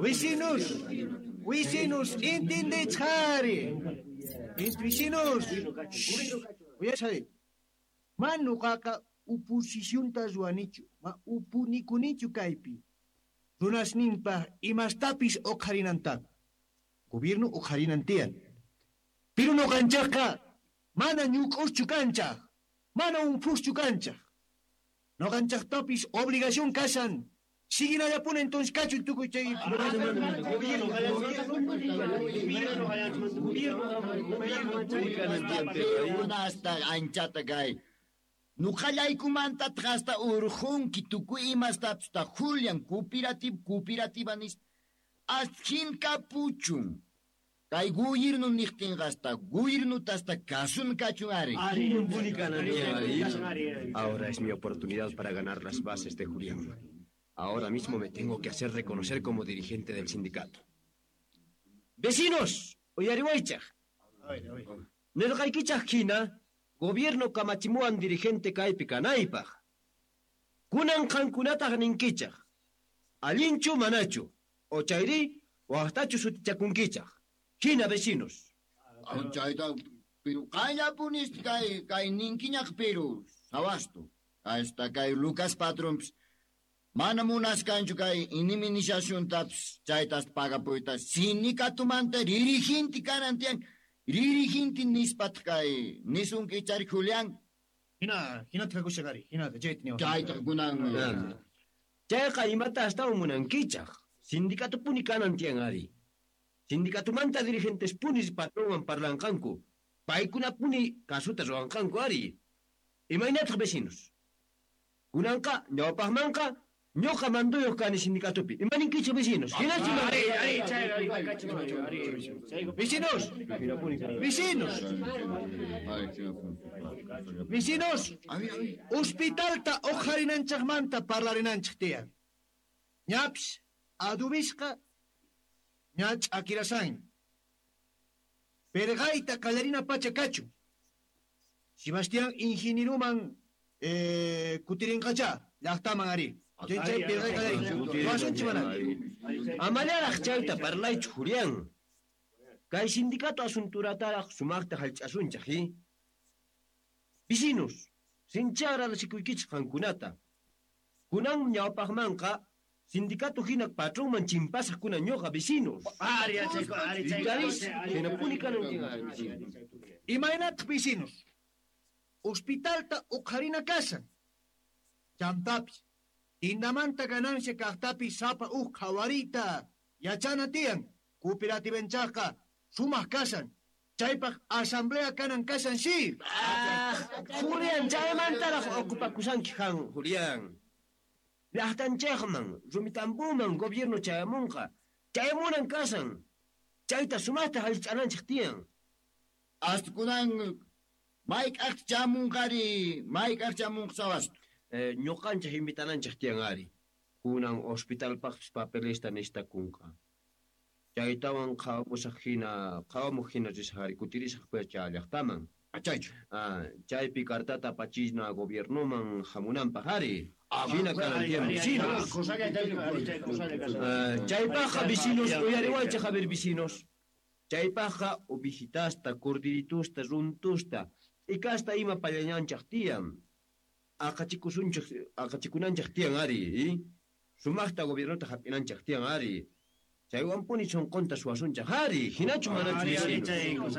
Vecinos, vecinos, entendechari. Vecinos. Uyashay. Ma nuqaqa oposicionta ruwanichu, ma upunikunichu kaypi. Runasninpaj imastapis uqharinantaqa. Gobierno uqharinan tiyan. Pero nuqanchaqqa mana ñuk'uschu kanchaq, mana unphuschu kanchaq. Nuqanchaqtapis obligación kashan. Siguinallapuni entonces kachun tukuy chay Hasta anchata kay. Nuqallaykumanta hasta urqunki tukuy imastapis ta Julian cooperativa nispa. Ashin kapuchun. Kay gobierno niqtinqa hasta gobiernuta hasta kasun kachun ari. Ahora es mi oportunidad para ganar las bases de Julián. Ahora mismo me tengo que hacer reconocer como dirigente del sindicato. ¡Vecinos! Uyariwaychaj. Nerqaykichaj hina, gobierno kamachimuwan dirigente kaypi kanaypaj. Kunan qankunataq ninkichaj. Allinchu manachu, o chayri waqtachu sutichakunkichaj. Hina vecinos. Chayta, pero qayllapunis kay ninkiñaq pero sawasto. Hasta kay Lucas patronpis mana munaskanchu kay indemnizaciontapis chaytas pagapuyta sindicatumanta dirigente kanan tiyan. Dirigente nispat kay nisunki chari Julián. Hina, hina tkakushaqari, hina chayta niwa. Chayta kunan. Chayqa imata astawan munankichaj. Sindicatupuni kanan tiyan ari. Sindicatumanta dirigentes punis patronwan parlanqanku. Paykunapuni kasuta ruwanqanku ari. Imaynataq vecinos. Kunanqa ñawpaqmanqa ñuqa manduyuq kani sindicatupi. Imaninkichik vecinos. Hinachu Vecinos. Vecinos. Vecinos. Hospitalta uqharinanchaqmanta parlarinanchik tiyan. Ñapis adubisqa ña ch'akirasan. Perqayta qallarina pacha kachun. Sebastián ingenieruman kutirinqacha llaqtaman ari. Chay perqay qallarin. Wasunchik mana. Amallaraq chayta parlaychu Julián. Kay sindicato asunturataraq sumaqta hallch'asunchaq, Vecinos, sinchi agradecikuykichik qankunata. Kunan ñawpaqmanqa sindicato hina patronman chimpasaq kunan ñuqa vecinos. Hinapuni kanan vecinos. Imaynataq vecinos. Hospitalta uqharina kasan. Chantapis, tindamanta ganancia kaqtapis sapa uq qhawariyta yachana tiyan. Cooperativenchaqqa sumaq kasan. Chaypaq asamblea kanan kasan si. Julián, chaymantaraq ocupakusanki qan, Julián. Llaqtanchaqman, rumitambuman gobierno chayamunqa. Chayamunan kasan. Chayta sumaqta hallch'ananchik tiyan. Hasta kunan mayk'aq chamunqari, mayk'aq chamunqa sawasto. Ñuqanchik invitananchik tiyan ari. Kunan hospitalpaqpis papelesta nishtakunqa. Chaytawan qhawamusaq hina, qhawamuq hina risaq ari, kutirisaq pacha llaqtaman. Chaychu. Chaypi cartata apachina gobiernoman hamunanpaq ari. Hina kanan tiyan vecinos. Chaypaqqa vecinos, uyariwaychik a ver vecinos. Chaypaqqa ovejitasta, cordiritusta, runtusta, t'ikasta ima pallañanchaq tiyan. Aqachikusunchik, aqachikunanchaq tiyan ari, Sumaqta gobiernota hap'inanchaq tiyan ari. Chaywanpuni sunqunta suwasunchaq ari, hinachu manachu vecinos.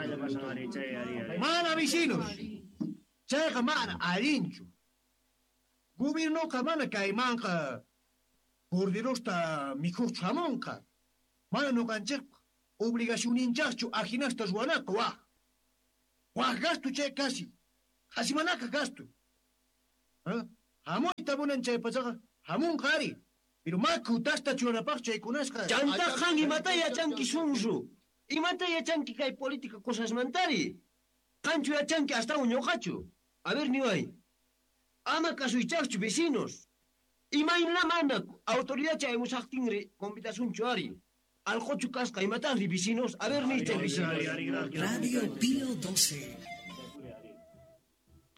Mana vecinos. Chayqa mana allinchu. Gobiernoqa mana kaymanqa corderosta mikhuqchu hamunqa. Mana nuqanchikpaq obligacionninchaqchu ajinasta ruwanaqa waq. Waq gasto chay kasi. Qasi manaqa gasto. Hamuyta munan chay pachaqa hamunqa ari. Pero maku tasta churanapaq chaykunasqa. Chanta qan imata yachanki sunsu. Imata yachanki kay política cosasmantari. Qanchu yachanki astawan ñuqachu. A ver niway. Ama kasuychaqchu vecinos. Imayna mana autoridad chayamusaqtinri convidasunchu ari. Alqochu kasqa imataqri vecinos. A ver niy chay vecinos. Radio Pío 12.